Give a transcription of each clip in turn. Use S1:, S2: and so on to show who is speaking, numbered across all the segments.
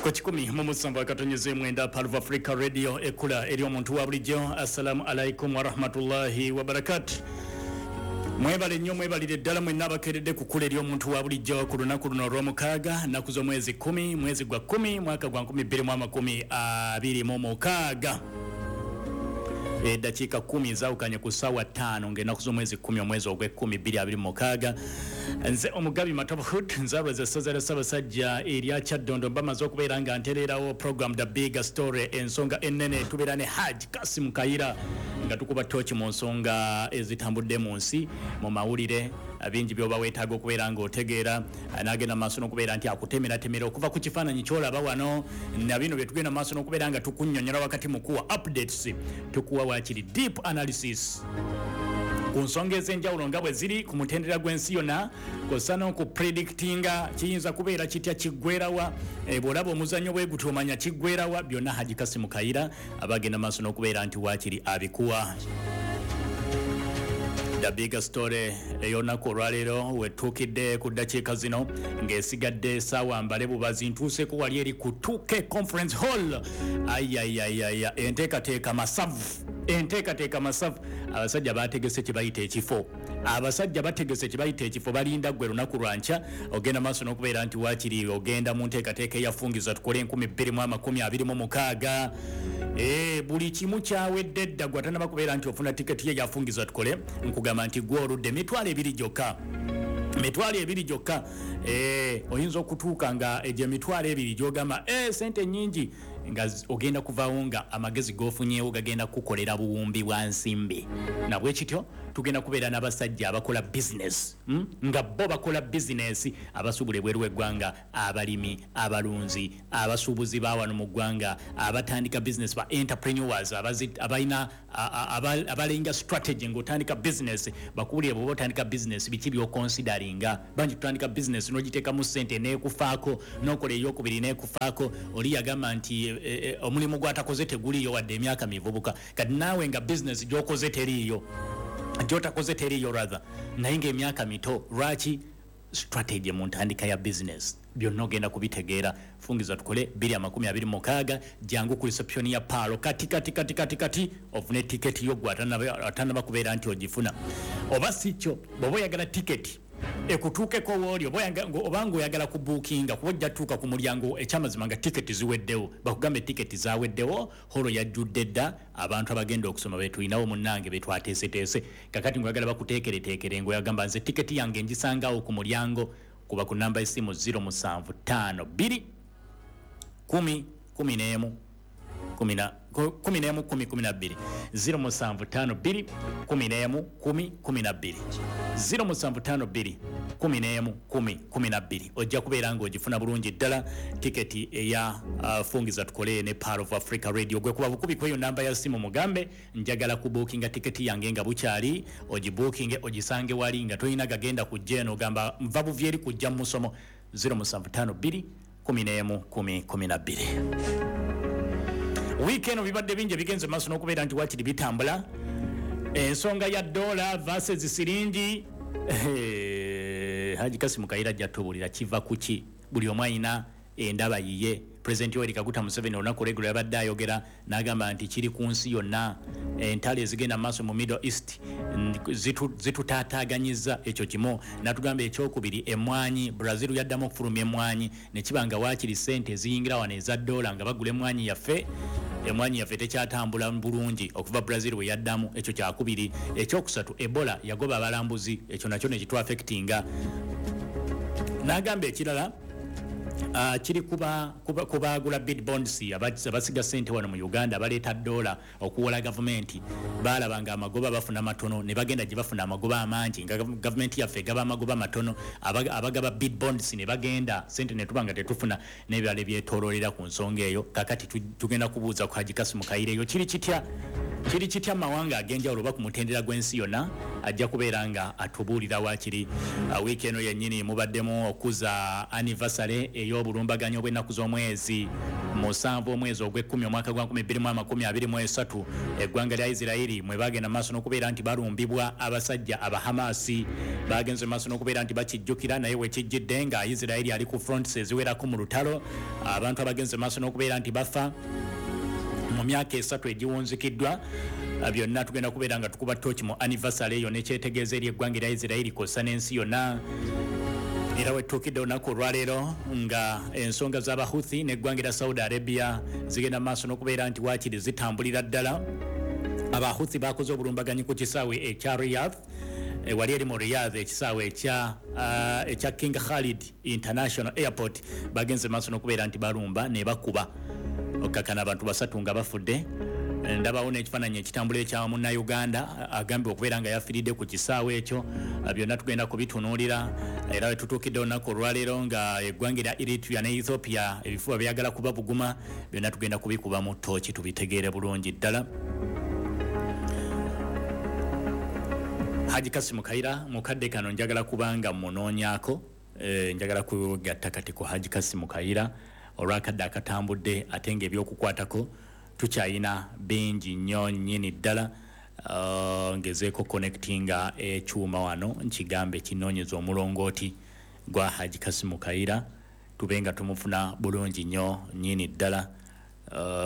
S1: Ku 107.9 Pearl of Africa Radio, ekula eri omuntu wa bulijjo. Assalamu alaikum warahmatullahi wabarakatu. Mwebale nnyo, mwebalire ddala mwenna abakeredde kukula eri omuntu wa bulijjo ku lunaku luno olw'omukaaga, nnaku z'omwezi 10, mwezi gwa 10, mwaka gwa 2026. Eddakiika 10 zaawukanye ku ssaawa 5 ng'ennaku z'omwezi 10, omwezi ogw'ekkumi 2026. Nze omugabi Matovu Hood, nzaalwa essaza lya Ssaabasajja erya Kyaddondo. Bamaze okubeera nga ntereerawo program The Big Story, ensonga ennene. Tubeera ne Haj Kasim Kayira nga tukuba tooki mu nsonga ezitambudde mu nsi, mu mawulire bingi by'oba weetaaga okubeera ng'otegeera. N'agenda mu maaso n'okubeera nti akutemeratemera okuva ku kifaananyi ky'olaba wano na bino bye tugenda mu maaso n'okubeera nga tukunnyonnyola wakati mu kuwa updates, tukuwa waakiri deep analysis ku nsonga ez'enjawulo nga bwe ziri ku mutendera gw'ensi yonna, kw'ossa n'okupredictinga kiyinza kubeera kitya, kiggwerawa. Bw'olaba omuzannyo bwe gutyo omanya kiggwerawa. Byonna Haji Kasimu Kayira abagenda maaso n'okubeera nti waakiri abikuwa. The Big Story ey'olunaku olwaleero wetuukidde ku ddakiika zino ng'esigadde essaawa mbale bubazi, ntuuseeko wali eri ku 2K Conference Hall. Ayayayaya, enteekateeka masavu, enteekateeka masavu. Abasajja bategese kye bayita ekifo, abasajja bategese kye bayita ekifo. Balinda ggwe lunaku lwankya ogenda maaso n'okubeera nti waakiri ogenda mu nteekateeka eyafungiza tukole 2026. Buli kimu kyawedde dda. Gwe atanaba kubeera nti ofuna tiketi ye yafungiza tukole, nkugamba nti gwe oludde. 20,000 gyokka, 20,000 gyokka. Oyinza okutuuka nga egyo 20,000 gyogamba sente nyingi, nga ogenda kuvaawo nga amagezi g'ofunyeewo gagenda kukukolera buwumbi bwa nsimbi. Nabwe kityo tugenda kubeera n'abasajja abakola bizinesi, Nga bo bakola bizinesi, abasuubula ebweru w'eggwanga, abalimi, abalunzi, abasuubuzi ba wano mu ggwanga, abatandika bizinesi, ba entrepreneurs abalina abalenga strategy ng'otandika bizinesi. Bakuwulire bw'oba otandika bizinesi biki by'okonsidaringa. Bangi tutandika bizinesi n'ogiteekamu ssente n'ekufaako, n'okola eyokubiri n'ekufaako. Oli yagamba nti omulimu gw'atakoze teguliiyo wadde emyaka mivubuka. Kati naawe nga bizinesi gy'okoze teriiyo, gy'otakoze teriiyo rather, naye ng'emyaka mito, lwaki strategy mu ntandika ya bizinesi? Byonna ogenda kubitegeera. Fungiza tukole 2026. Jangu ku reception ya Pearl kati kati kati kati kati ofune tiketi yo gwe atanaba kubeera nti ogifuna. Oba si kyo, bw'oba oyagala tiketi ekutuukeko wooli, oba ng'oyagala kubuukinga, kuba ojja tuuka ku mulyango ekyamazima nga tiketi ziweddewo, bakugambe tiketi zaweddewo, holo yajjudde dda abantu abagenda okusoma betulinawo munnange betwateeseteese. Kakati ng'oyagala bakuteekereteekere, ng'oyagamba nze tiketi yange ngisangawo ku mulyango, kuba ku namba y'essimu 0752 10 11 11 10 12, 0752 11 10 12, 0752 11 10 12. Ojja kubeera ng'ogifuna bulungi ddala tiketi eya Fungiza Tukole ne Pearl of Africa Radio. Gwe kuba bukubi kweyo namba ya simu, mugambe njagala kubuukinga tiketi yange nga bukyali, ogibuukinge ogisange wali nga tolina gagenda kujja eno, ogamba nva buvi eri kujja mu musomo. 0752 11 10 12. Wiiki eno bibadde bingi ebigenze maaso n'okubeera nti wakiri bitambula. Ensonga ya dola versus siringi, Haji Kasimu Kayira ajja tubuulira kiva ku ki. Buli omu alina endaba yiye. Pulezidenti Yoweri Kaguta Museveni olunaku olweggulo yabadde ayogera n'agamba nti kiri ku nsi yonna, entalo ezigenda mu maaso mu Middle East zitutaataaganyiza. Ekyo kimu. N'atugamba ekyokubiri, emmwanyi, Brazil yaddamu okufulumya emmwanyi ne kiba nga waakiri ssente eziyingira wano eza dola nga bagula emmwanyi yaffe, emmwanyi yaffe tekyatambula bulungi okuva Brazil bwe yaddamu. Ekyo kyakubiri. Ekyokusatu, Ebola yagoba abalambuzi, ekyo nakyo ne kitwafectinga. N'agamba ekirala kiri kubagula bid bonds, abasiga ssente wano mu Uganda, abaleeta dola okuwola gavumenti. Baalaba nga amagoba bafuna matono ne bagenda gye bafuna amagoba amangi, nga gavumenti yaffe egaba amagoba matono. Abagaba bid bonds ne bagenda, sente ne tuba nga tetufuna, n'ebirala ebyetooloolera ku nsonga eyo. Kakati tugenda kubuuza ku Haji Kasimu Kayira eyo kiri kitya. Kiri kitya mawanga ag'enjawulo oba ku mutendera gw'ensi yonna, ajja kubeera nga atubuulira waakiri. Wiiki eno yennyini mubaddemu okuza anniversary ey'obulumbaganyi obw'ennaku z'omwezi 7 omwezi ogw'ekkumi omwaka gwa 2023, eggwanga lya Isirayiri mwe bagenda maaso n'okubeera nti balumbibwa abasajja Abahamasi. Bagenze maaso n'okubeera nti bakijjukira, naye wekijjidde nga Isirayiri ali ku fronts eziwerako mu lutalo, abantu abagenze maaso n'okubeera nti bafa mu myaka 3 egiwunzikiddwa. Byonna tugenda kubeera nga tukuba toki mu anniversary eyo nekyetegeeza eri eggwanga lya Isirayiri kw'ossa n'ensi yonna. Era wetuukidde olunaku olwaleero nga ensonga z'Abahuthi n'eggwanga lya Saudi Arabia zigenda maaso n'okubeera nti waakiri zitambulira ddala. Abahuthi bakoze obulumbaganyi ku kisaawe ekya Riyadh, wali eri mu Riyadh, ekisaawe ekya King Khalid International Airport. Bagenze maaso n'okubeera nti balumba ne bakuba okakana abantu 3 nga bafudde. Ndabawo n'ekifaananyi ekitambula ekya munnayuganda agambye okubeera nga yafiiridde ku kisaawe ekyo. Byonna tugenda kubitunuulira. Era wetutuukidde olunaku olwaleero nga eggwanga lya Eritrea ne Ethiopia ebifuba byagala kuba buguma. Byonna tugenda kubikuba mu ttooki tubitegeere bulungi ddala. Haji Kasimu Kayira mukadde kano njagala kubanga munoonyaako, njagala kugatta kati ku Haji Kasimu Kayira olwakadde akatambudde, ate ng'ebyokukwatako tukyayina bingi nnyo nnyini ddala. Ngezeeko connectinga ekyuma wano nkigambe kinoonyeza omulongooti gwa Haji Kasimu Kayira tube nga tumufuna bulungi nnyo nnyini ddala.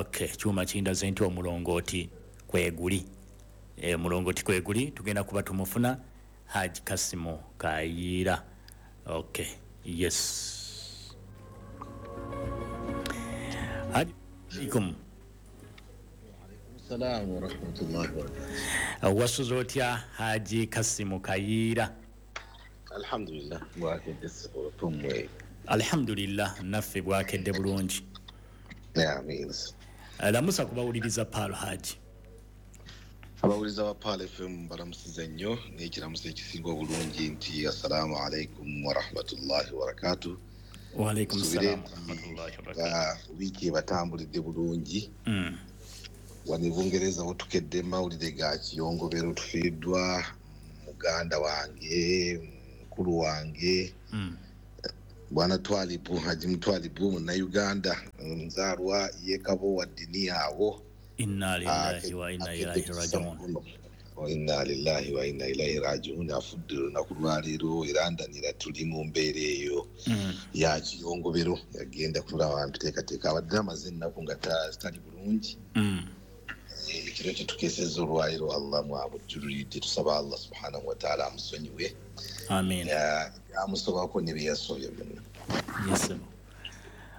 S1: Okay, kyuma kindaze nti omulongooti kweguli, omulongooti kweguli, tugenda kuba tumufuna Haji Kasimu Kayira. Okay, yes. Haji alaikum.
S2: Salamu wa rahmatullahi wa barakatuh.
S1: Wasuze otya Haji Kasimu Kayira?
S2: Alhamdulillah, bwakedde tumwe.
S1: Alhamdulillah, naffe bwakedde bulungi.
S2: Amin.
S1: Lamusa kubawuliriza Pearl Haji.
S2: Abawuliriza ba Pearl FM balamusize nnyo n'ekiramuso ekisinga obulungi nti assalamu alaikum wa rahmatullahi wa barakatuh.
S1: Wa alaikum salam wa rahmatullahi wa barakatuh.
S2: Wiiki ebatambulidde bulungi. Wano e Bungereza wetukedde mawulire ga kiyongobero, tufiiriddwa muganda wange, mukulu wange, Bwana Twalibu, Haji Mutwalibu munnayuganda nzaalwa y'e Kabowa ddini awo.
S1: Inna lillahi wa inna ilaihi rajiun.
S2: Inna lillahi wa inna ilaihi rajiun. Afudde olunaku lwaleero era ndanira tuli mu mbeera eyo ya kiyongobero, yagenda kulaba nteekateeka, abadde amaze ennaku nga tali bulungi. Ekiro kye tukeesezza olwaleero Allah mwamujjululidde, tusaba Allah subhanahu wa ta'ala amusonyiwe.
S1: Amin.
S2: Amusobako ne bye yasobya byonna.
S1: Yes.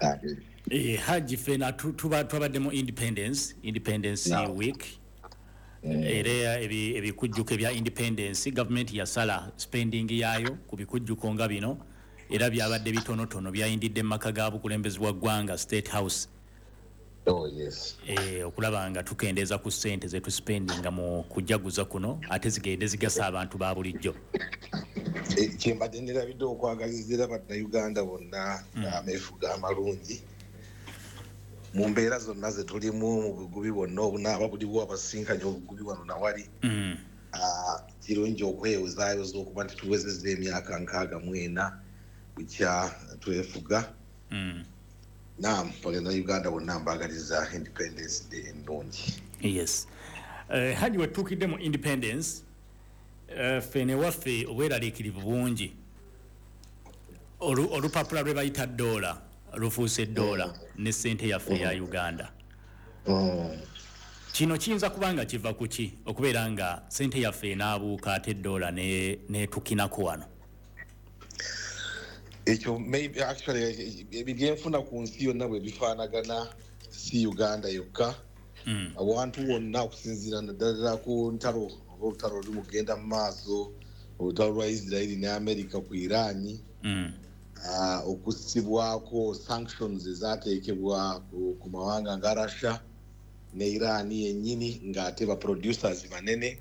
S2: Amin.
S1: Haji fena twabadde mu Independence Week. Era ebikujjuko ebya Independence, government yasala spending yaayo ku bikujjuko nga bino, era byabadde bitonotono byayindidde mu maka ga bukulembeze bwa ggwanga State House.
S2: Oh yes.
S1: Okulaba nga tukendeeza ku ssente ze tuspendinga mu kujaguza kuno, ate zigende zigasa abantu ba bulijjo.
S2: Kyembadde nderabidde okwagalizira bannayuganda bonna ameefuga amalungi mu mbeera zonna ze tulimu, mu bugubi bwonna obunaaba buliwo abasinkanye obugubi wano nawali. Kirungi okwewozaayoza okuba nti tuwezezza emyaka 64 bukya twefuga. Naam, bannayuganda bonna mbaagaliza Independence Day ennungi.
S1: Yes. Haji wetuukidde mu Independence, ffe ne waffe obweraliikirivu bungi. Olupapula lwe bayita dola lufuuse dola ne ssente yaffe ya Uganda. Kino kiyinza kuba nga kiva ku ki okubeera nga ssente yaffe enaabuuka ate dola netukinako wano?
S2: Ekyo maybe actually ebyenfuna ku nsi yonna bwe bifaanagana, si Uganda yokka. Awantu wonna okusinziira naddala ku ntalo oba olutalo oluli mugenda mu maaso, olutalo lwa Israeli ne America ku Iran, okussibwako sanctions ezaateekebwa ku mawanga nga Russia ne Iran yennyini ng'ate ba producers banene.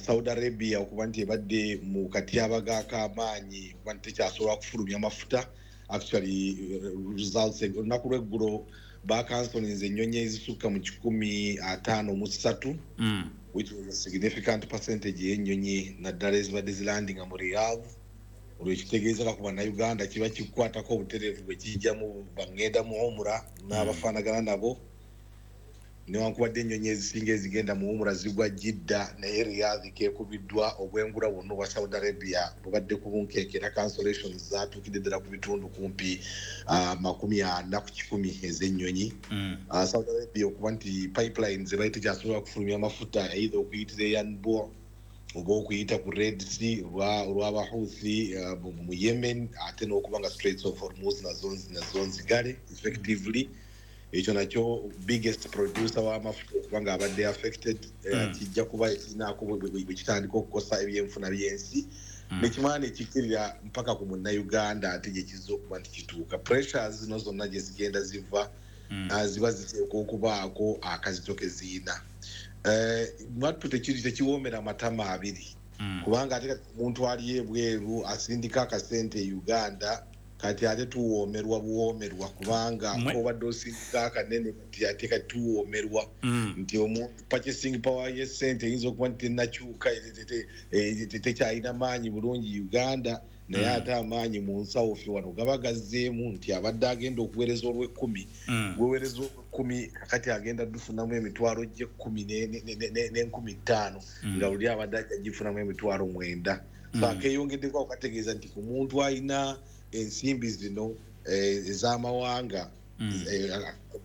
S2: Saudi Arabia okuba nti ebadde mu katyabaga ak'amaanyi okuba nti tekyasobola kufulumya mafuta. Actually results olunaku lw'eggulo Bakansolinze ennyonyi ezisukka mu 153, which was a significant percentage y'ennyonyi, naddala ezibadde zilandinga mu Riyadh. Olwo ekitegeeza ku Bannayuganda kiba kikukwatako obutereevu bwe kijjamu bangenda mu Umrah n'abafaanagana nabo. Newankubadde ennyonyi ezisinga ezigenda mu Umrah zigwa Jidda, naye Riyadh keekubiddwa. Obwengula bwonna obwa Saudi Arabia bubadde ku bunkenke, era cancellations zaatuukidde ddala ku bitundu kumpi 40% ez'ennyonyi. Saudi Arabia okuba nti pipelines ebaali tekyasobola kufulumya amafuta, either okuyitira e Yanbu oba okuyita ku Red Sea olw'Abahuthi mu Yemen, ate n'okuba nga Straits of Hormuz nazo nzigale effectively. Ekyo nakyo, biggest producer w'amafuta okuba nga abadde affected, kijja kuba kirinaako bwe kitandika okukosa ebyenfuna by'ensi, nekimala nekikkirira mpaka ku Munnayuganda. Ate gye kizza okuba nti kituuka, pressures zino zonna gye zigenda ziva, ziba ziteekwa okubaako akazito ke ziyina. Mwattu tekiri tekiwoomera matama abiri, kubanga ate kati omuntu ali ebweru asindika akasente e Uganda, kati ate tuwoomerwa buwoomerwa, kubanga obadde osindika akanene, kati ate kati tuwoomerwa nti omuntu purchasing power y'essente eyinza okuba nti tenakyuka, tekyalina maanyi bulungi Uganda, naye ate amaanyi mu nsawo ffe wano gaba gazzeemu, nti abadde agenda okuweereza olw'ekkumi, gweweereza olw'ekkumi, kakati agenda dufunamu emitwalo gy'ekkumi n'enkumi ttaano, nga luli abadde ajja gifunamu 90,000. So akeyongeddeko ako kategeeza nti ku muntu alina ensimbi zino ez'amawanga,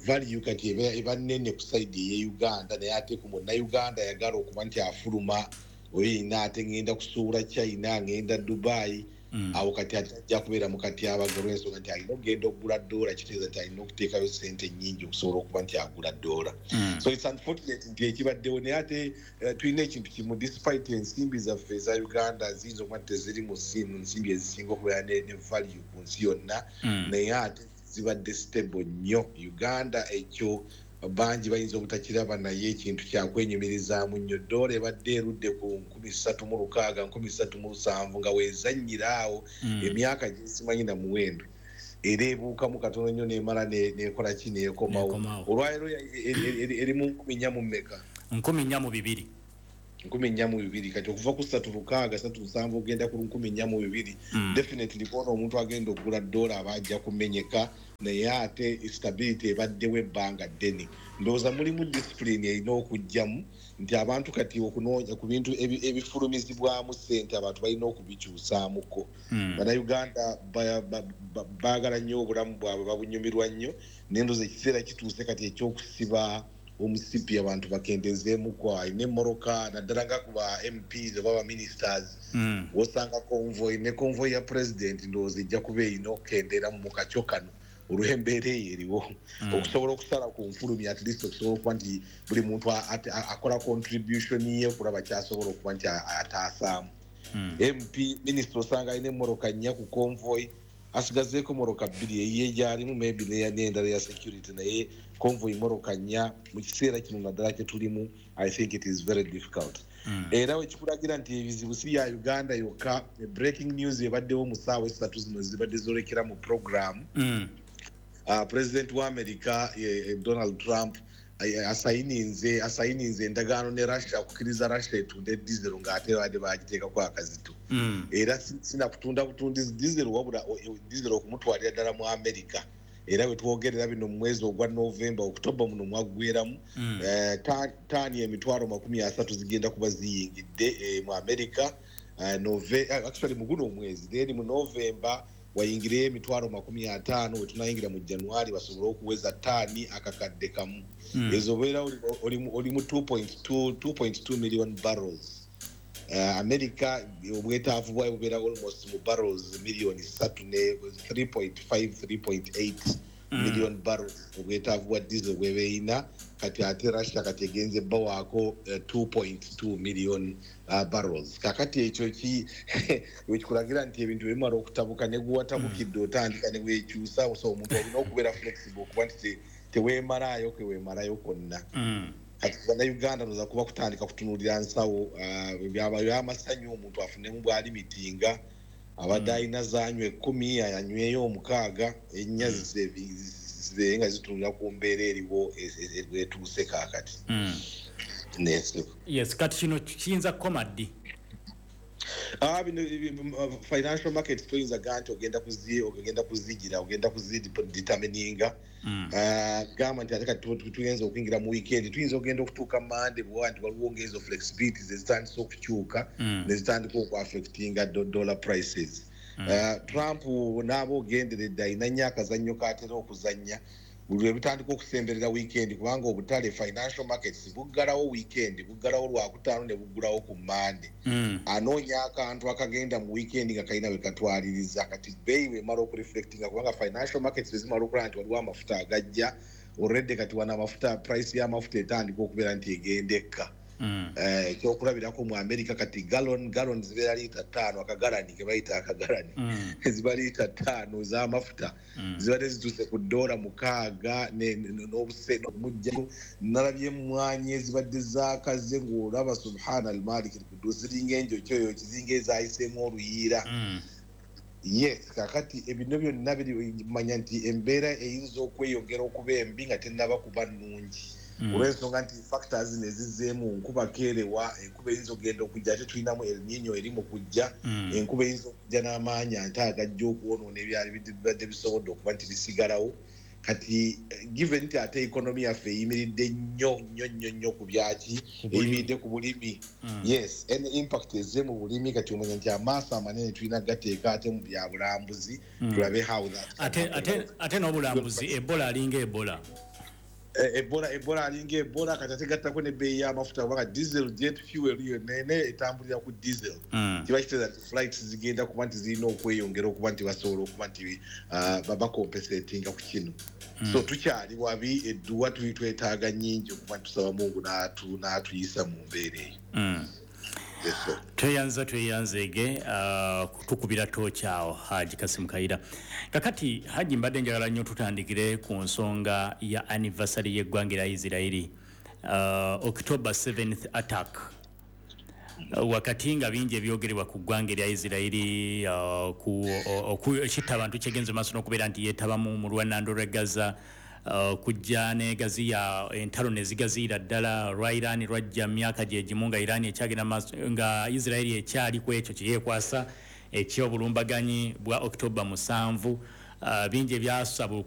S2: value kati eba nnene ku side ey'e Uganda, naye ate ku Munnayuganda ayagala okuba nti afuluma, oyo yina ate ngenda kusuubula China, ngenda Dubai, awo kati ate ajja kubeera mu katyabaga, olw'ensonga nti alina okugenda okugula ddoola, kitegeeza nti alina okuteekayo sente nnyingi okusobola okuba nti agula ddoola. So it's unfortunate nti ekibaddewo, naye ate tulina ekintu kimu: despite ensimbi zaffe eza Uganda ziyinza okuba nti teziri mu nsimbi ezisinga okubeera ne value ku nsi yonna, naye ate zibadde stable nnyo Uganda. Ekyo bangi bayinza obutakiraba, naye ekintu kyakwenyumirizaamu nnyo. Ddoola ebadde erudde ku 3,600, 3,700, nga weezannyira awo emyaka gyesimanyi na muwendo, era ebuukamu katono nnyo nemala nekola ki, neekomawo.
S1: Neekomawo.
S2: Olwaleero eri mu 4,000 mu mmeka?
S1: 4,002.
S2: 4,002. Kati okuva ku 3,600, 3,700 ogenda ku 4,002, definitely kwona omuntu agenda okugula ddoola aba ajja kumenyeka, naye ate stability ebaddewo ebbanga ddene. Ndowooza mulimu discipline erina okujjamu nti abantu kati okunoonya ku bintu ebifulumizibwamu ssente, abantu balina okubikyusaamuko. Bannayuganda baagala nnyo obulamu bwabwe, babunyumirwa nnyo, naye ndowooza ekiseera kituuse kati ekyokusiba omusipi, abantu bakendezeemuko. Alina emmoroka, naddala nga ku ba MPs oba ba ministers, wosanga convoy ne convoy ya president, ndowooza ejja kuba erina okukendeera mu kakyo kano olw'embeera eyo eriwo, okusobola okusala ku nfulumya, at least okusobola okuba nti buli muntu akola contribution ye okulaba kyasobola okuba nti ataasaamu. MP, minister, osanga alina emmoroka nnya ku convoy, asigazeeko moroka bbiri, eyiye gyalimu maybe n'endala ya security, naye convoy moroka nnya mu kiseera kino naddala kyetulimu, I think it is very difficult. Era wekikulagira nti ebizibu si bya Uganda yokka. Breaking news ebaddewo mu ssaawa 3 zino zibadde zolekera mu program, president wa America, Donald Trump, asayininze endagaano ne Russia okukkiriza Russia etunde diesel, ng'ate badde bagiteekako akazito. Era sinakutunda butundizi diesel, wabula diesel okumutwalira ddala mu America. Era bwe twogerera bino, mu mwezi ogwa November, October muno mwaggweramu, taani 30,000 zigenda kuba ziyingidde mu America. Actually mu guno omwezi, then mu November wayingireyo 50,000, wetunayingira mu January basobole okuweza taani 100,000. Ezo obeera oli mu 2.2 million barrels. America obwetaavu bwayo bubeera almost mu barrels miliyoni 3 ne 3.5, 3.8 million barrels, obwetaavu bwa diesel bwebeeyina. Kati ate Russia kati egenze bawaako 2.2 million barrels. Kakati ekyo ki wekikulagira nti ebintu bimala okutabuka, ne guwatabukidde otandika ne wekyusa. So omuntu olina okubeera flexible okuba nti teweemalaayo keweemalayo kwonna. Kati Bannayuganda noza kuba kutandika kutunuulira nsawo, byaba byamasanyu omuntu afunemu bwalimitinga, abadde alina zanywa 10, anyweyo omukaaga, ennya Zibeere nga zitunula ku mbeera eriwo etuuse kaakati. Nese.
S1: Yes, kati kino kiyinza kukoma ddi?
S2: Ah, bino financial markets toyinza gaa nti ogenda kuzigira, ogenda kuzidetermininga. Ah, gamba nti ate kati tuyinza okuyingira mu weekend, tuyinza okugenda okutuuka Mande bwa nti waliwo ngezo flexibilities ezitandise okukyuka nezitandika okuaffectinga dollar prices. Ah, Trump n'aba ogenderedde, alina nnyo akazannyo k'atera okuzannya buli lwe bitandika okusemberera weekend, kubanga obutale, financial markets, buggalawo weekend, buggalawo Lwakutaano ne buggulawo ku Mande. Anoonya akantu akagenda mu weekend nga kalina we katwaliriza. Kati bbeeyi bwemala okureflectinga, kubanga financial markets bwezimala okulaba nti waliwo amafuta agajja already, kati wano amafuta, price y'amafuta etandika okubeera nti egenda ekka. Ekyokulabirako mu America kati gallon zibeera liita 5, akagalani ke bayita akagalani, ziba liita 5 z'amafuta, zibadde zituuse ku $6 n'obuse omujjayo. Nalabye emmwanyi ezibadde zaakaze ng'olaba, subhana almalik alkudus, ziringa enjokyoyo, kizinga ezayiseemu oluyiira. Yes, kakati ebino byonna biri manya nti embeera eyinza okweyongera okuba embi nga tennaba kuba nnungi, olw'ensonga nti factors zino ezizzeemu, nkuba keerewa, enkuba eyinza okugenda okujja, ate tulinamu El Nino eri mu kujja. Enkuba eyinza okujja n'amaanyi ate agajja okwonoona ebyali bibadde bisobodde okuba nti bisigalawo. Kati given nti ate economy yaffe eyimiridde nnyo nnyo nnyo nnyo ku byaki,
S1: Ku bulimi.
S2: Eyimiridde ku bulimi. Yes, any impact ezze mu bulimi, kati omanya nti amaaso amanene tulina gateeka ate mu bya bulambuzi, tulabe how that can
S1: ate
S2: happen.
S1: Ate n'obulambuzi, Ebola alinga Ebola.
S2: Ebola alinga Ebola. Kati ate gattako nebbeeyi y'amafuta, kubanga diesel, jet fuel yonna ene etambulira ku diesel. Kiba kitegeeza nti flights zigenda kuba nti zirina okweyongera okuba nti basobola okuba nti bacompensatinga ku kino. So tukyali wabi, edduwa tuli twetaaga nnyingi okuba nti tusaba Mungu n'atuyisa mu mbeera eyo. Yes, sir.
S1: Tweyanza, tweyanzeege kutukubira tooki awo, Haji Kasimu Kayira. Kakati Haji, mbadde njagala nnyo tutandikire ku nsonga ya anniversary y'eggwanga erya Isirairi, October 7th attack. Wakati nga bingi ebyogerebwa ku ggwanga erya Isirairi, ekitta abantu kyegenze maaso n'okubeera nti yeetabamu mu lwanando lw'e Gaza, kujja negaziya entalo nezigaziira ddala lwa Iran, lwajja myaka gye gimu nga Iran ekyagenda maaso, nga Isirairi ekyali ku ekyo kyeyekwasa ekyobulumbaganyi bwa October 7. Bingi ebyasaba.